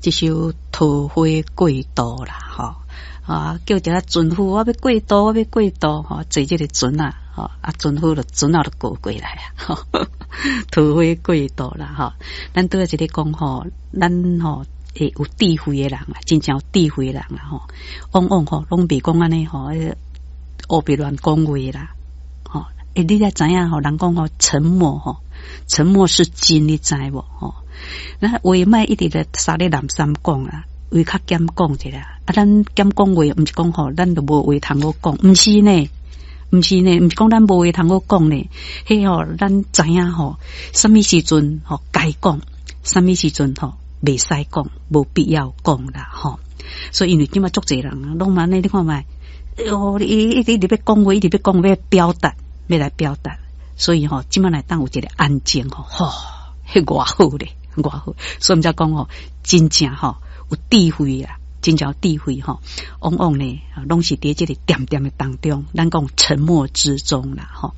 這首《桃花過渡》啦，吼啊，叫一個船夫，我欲過渡，我欲過渡，吼，坐這个船仔，吼，啊，船夫就船仔就過過來啊，桃花過渡啦，吼，咱拄仔一咧講吼，咱吼會有智慧的人啊，真正有智慧的人啊，吼，往往吼攏袂講按呢吼，烏白亂講話啦，吼，欸，你才知影吼，人講吼，沉默吼，沉默是金，你知無吼？咱話莫一直咧沙咧南山講啦，話較減講一下。啊，咱減講話，毋是講吼，咱就無話通好講，毋是呢，毋是呢，毋是講咱無話通好講呢。彼吼，咱知影吼，啥物時陣吼該講，啥物時陣吼袂使講，無必要講啦，吼。所以因為這馬足濟人攏按呢，你看覓，哦，伊一直一直欲講話，一直欲講，欲表達，欲來表達。所以吼，這馬來當有一个安靜吼，吼，彼偌好咧，偌好。所以毋才講吼，真正吼有智慧啊，真正有智慧吼，往往呢，攏是佇這个恬恬的當中，咱講沉默之中啦，吼。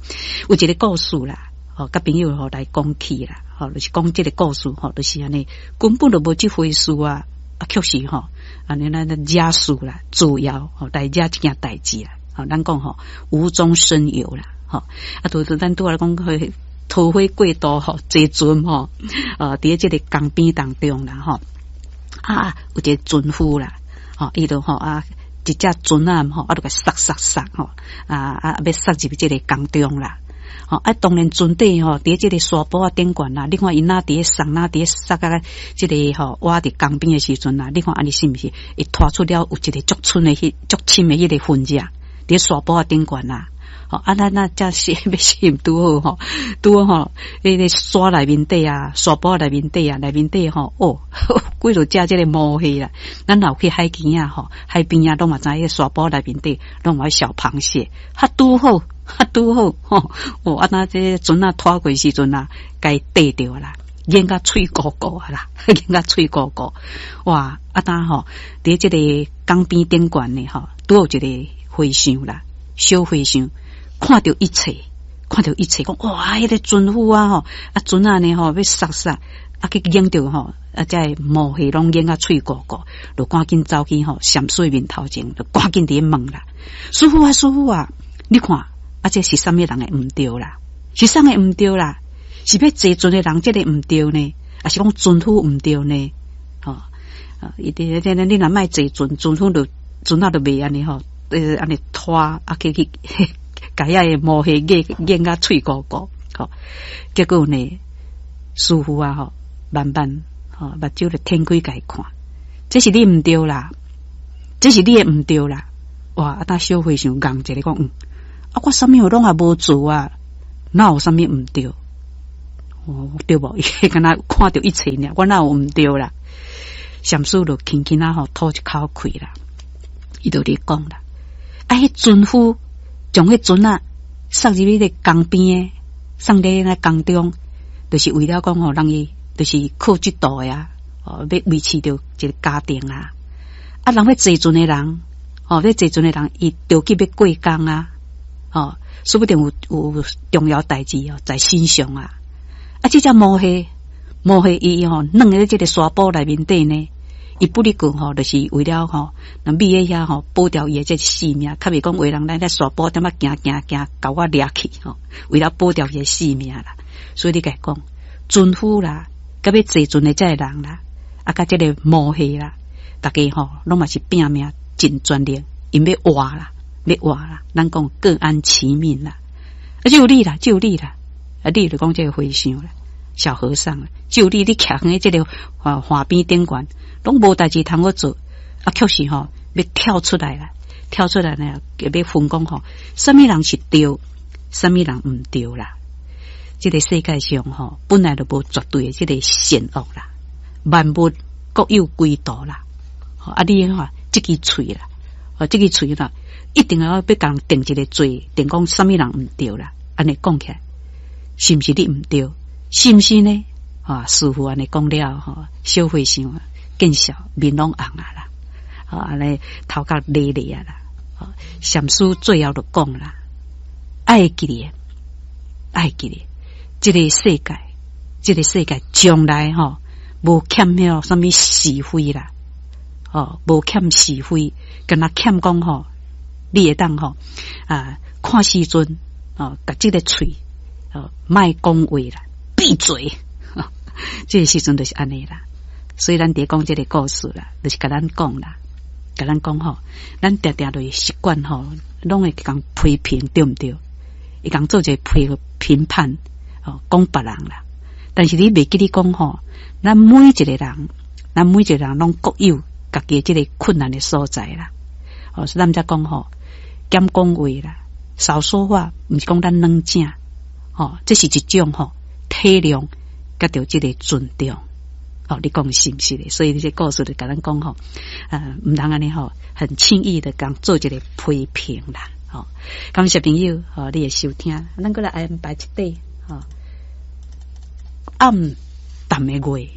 有一个故事啦，吼，佮朋友吼來講起啦，吼，就是講這个故事吼，就是按呢，根本就無這回事啊，啊，確實吼，按呢咱惹事啦，造謠吼來惹這件代誌啦，吼，咱講吼無中生有啦，吼，啊，拄拄咱拄仔講去桃花過渡吼，坐船吼，佇這个江邊當中啦，吼，啊，有一个船夫啦，吼，伊就吼啊，一隻船仔吼，啊，就共捒捒捒吼，啊啊，欲捒入這个江中啦，吼，啊，當然船底吼，佇這个沙埔仔頂懸啦，你看伊若佇咧捒，若佇咧捒啊，這个吼，倚佇江邊的時陣啦，你看按呢是毋是會拖出了有一个足深的彼足深的彼个痕跡，佇沙埔仔頂懸啦。吼，啊，咱若才是欲死拄好吼，拄好吼，彼个沙內面底啊，沙埔內面底啊，內面底吼，哦，幾落隻這个毛蟹啦。咱若有去海邊仔吼，海邊仔攏嘛知影，彼沙埔內面底攏有小螃蟹，較拄好，較拄好吼。哦，啊，若這个船仔拖過時陣啊，共伊綴著啦，淹甲喙糊糊啊啦，淹甲喙糊糊。哇，啊，當吼，佇這个江邊頂懸呢吼，拄有一个和尚啦，小和尚。看著一切，看著一切，講哇，彼个船夫啊吼，啊船仔呢吼，欲捒捒，啊去淹著吼，啊這个毛蟹攏淹甲喙糊糊，就趕緊走去吼，禪師面頭前，就趕緊佇咧問啦，師父啊，師父啊，你看，啊這是啥物人的毋對啦？是啥个毋對啦？是欲坐船的人這个毋對呢？抑是講船夫毋對呢？吼，啊，伊佇咧，你若莫坐船，船夫就船仔就袂按呢吼，按呢拖啊去去。共遐个毛蟹淹淹甲喙糊糊，吼，結果呢，師父啊，吼，慢慢吼，目睭就展開共伊看，這是你毋對啦，這是你的毋對啦，哇！啊，當小和尚戇一个講，嗯，啊，我啥物攏也無做啊，哪有啥物毋對？哦，對無？伊敢若看著一切爾，我哪有毋對啦？禪師就輕輕仔吼吐一口氣啦，伊就咧講啦，啊，彼船夫。將彼船仔捒入彼个江邊的，送佇那江中，就是為了講吼，讓伊就是靠這渡的啊，哦，欲維持著一个家庭啊。啊，人欲坐船的人，哦，欲坐船的人，伊著急欲過江啊，哦，說不定有有重要代誌哦，在身上啊。啊，這隻毛蟹，毛蟹伊吼，軟佇這个沙埔內面底呢。伊不哩過吼，就是為了吼，那覕佇遐吼，保牢伊的這個性命，較袂講有人來咧沙埔點仔行行行，共我掠去吼，為了保牢伊的性命啦。所以你共伊講，船夫啦，佮欲坐船的這個人啦，啊，佮這个毛蟹啦，逐家吼攏嘛是拼命盡全力，𪜶欲活啦，欲活啦。咱講各安其命啦，啊，只有你啦，只有你啦，啊，你就講這個和尚啦，小和尚啦，只有你，你徛佇這个岸邊頂懸。攏無代誌通好做，啊，確實吼，欲跳出來啦，跳出來呢，欲分講吼，啥物人是對，啥物人毋對啦。這个世界上吼，本來就無絕對的這个善惡啦，萬物各有歸途啦。啊，你看這支喙啦，哦，這支喙啦，一定要欲共人定一个罪，定講啥物人毋對啦。按呢講起來，是毋是你毋對？是毋是呢？啊，師父按呢講了吼，小和尚啊。見笑面攏紅啊啦，啊，按呢頭殼咧咧啊啦，禪師最後就講啦，愛會記咧，愛會記咧，這个世界，這个世界將來吼，無欠彼啥物是非啦，哦，無欠是非，敢若欠講吼，你會當吼啊，看時陣哦，共這個喙哦，莫講話啦，閉嘴，這個時陣就是按呢啦。所以咱佇講這個故事啦，就是共咱講啦，共咱講吼，咱定定就是習慣吼，攏會共批評，對毋對？會共做一個批評判，哦，講別人啦。但是你袂記得講吼，咱每一個人，咱每一個人攏各有家己這個困難的所在啦。哦，所以咱才講吼，減講話啦，少說話，毋是講咱軟正，吼，這是一種吼體諒，佮著這個尊重。哦，你講是毋是咧？所以這個故事就共咱講吼，毋通按呢吼，很輕易的共做一個批評啦。吼，感謝朋友，吼，你的收聽，咱閣來安排一塊，吼，暗淡的月。